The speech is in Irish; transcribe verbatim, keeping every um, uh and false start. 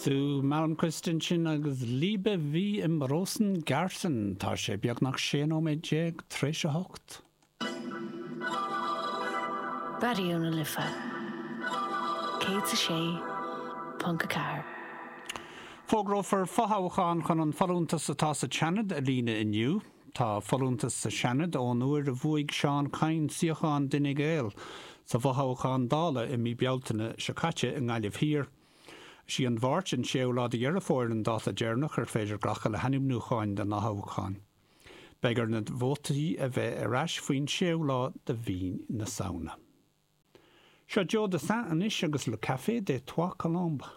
Sue Malmquist ansin agus Liebe wie im Rosengarten. Tá sé beagnach sé nóiméad déag tar éis a hocht. Raidió na Life céad a sé ponc a ceathair. Fógrófar fothoghchán chun an folúntas atá sa Seanad a líonadh inniu. Tá folúntas sa Seanad ón uair a bhuaigh Seán Kyne suíochán d'Fhine Gael sa bhfothoghchán Dála i mí Bealtaine seo caite i nGaillimh Thiar. Is í an Mháirt an séú lá de Dheireadh Fómhair an dáta deireanach ar féidir glacadh le hainmniúcháin don fhothoghchán. Beidh ar na vótaí a bheith ar ais faoin séú lá de mhí na Samhna. Seo Joe Dassin anois agus Le Café des Trois Colombes.